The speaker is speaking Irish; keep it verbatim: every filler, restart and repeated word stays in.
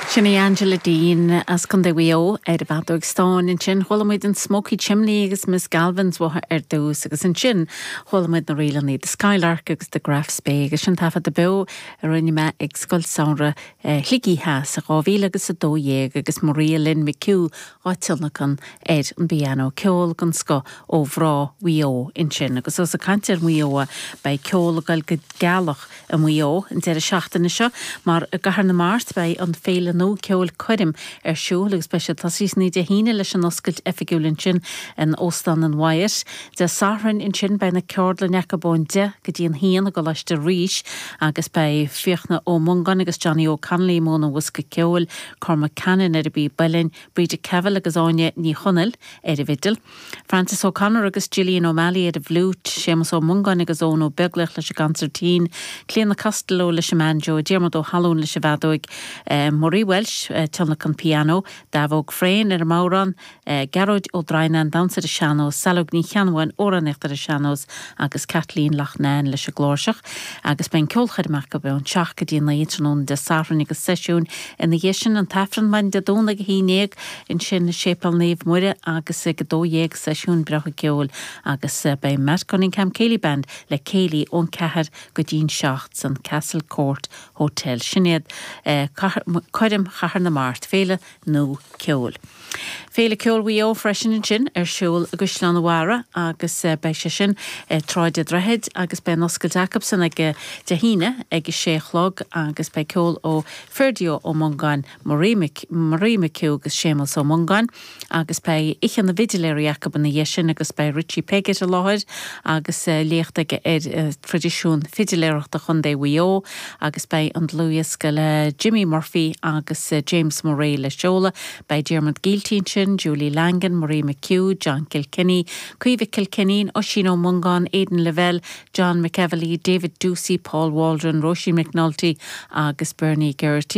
Sin í Angela Deane as Contae Mhaigh Eo ar an bhfeadóg stáin ansin chuala muid an Smoky Chimney agus Miss Galvins uathu ar dtús agus ansin chuala muid na rílanna The Skylark agus the Grafs Bay agus sin taifead beo a rinne mé ag Scoil Samhraidh Shligigh Theas sa dhá mhíle agus a dó dhéag agus Maria Lynn McHugh á tionlacan ar an bpianó ceol den scoth ó mhná Mhaigh Eo ansin agus ós ag caint ar Mhaigh Eo beidh ceol ag dul go gealach i Maigh Eo an deireadh seachtaine seo mar i gCathair na Mart beidh an féile nua ceoil Coirm ar siúl agus beidh sé tosaithe Dé hAoine leis an oscailt oifigiúil ansin in Óstán an Wyatt. Dé Sathairn ansin beidh na ceardlanna acu ón deich go dtí an haon i gColáiste Rís agus beidh Fiachna Ó Mongáin agus Johnny O'Connolly i mbun an bhosca ceoil, Cormac Cannon ar an bpíb uilleann, Bríde Cavill agus Áine Ní Chonaill ar an bhfidil. Francis O'Connor agus Gillian O'Malley ar an bhfliúit, Séamus Ó Mongáin agus Eoin Ó Beaglaoich leis an gconsairtín, Clíona Costello leis an mbanjo, Diarmuid Ó hAllún leis an bhfeadóig, eh, Marie Welsh eh, tionlacan pianó, Davóg Frayne ar an mbodhrán, eh, Gearóid Ó Droighneáin damhsa ar an sean-nós, Saileog Ní Cheannabháin amhránaíocht ar an sean-nós agus Kathleen Loughnane leis an gcláirseach, agus beidh ceolchoirm acu ón seacht go dtí naoi tráthnóna Dé Sathairn agus seisiún ina dhiaidh sin an t-aifreann maidin Dé Domhnaigh a haon déag ansin Séipéal Naomh Muire agus ag dó dhéag seisiún breá ceoil agus eh, beidh Matt Cunningham Céilí Band le céilí ón ceathair go dtí'n seacht san Castle Court Hotel. Sin iad eh, Coirm Chathair na Mart féile nua ceoil. Féile Ceoil Mhaigh Eo freisin ansin ar siúl i gCaisleán an Bharraigh agus eh, beidh sé sin eh, Sráid an Droichid agus beidh an oscailt acusan ag Dé hAoine ag sé a chlog agus beidh ceol ó Ferdio Ó Mongáin Marie Marie McHugh agus Séamus Ó Mongáin agus beidh oíche na bhfidiléirí acu ina dhiaidh sin agus beidh Richie Piggott i láthair agus uh, léacht aige ar uh, traidisiún fidiléireachta Chontae Mhaigh Eo agus beidh an dlúthdhiosca le Jimmy Murphy agus uh, James Murray le seoladh, beidh Diarmuid Gielty sin, Julie Langan, Marie McHugh, John Kilkenny, Caoimhe Kilkenny, Oisín Ó Mongáin, Aidan Lavelle, John McEvely, David Ducey, Paul Waldron, Roisin McNulty agus Bernie Geraghty.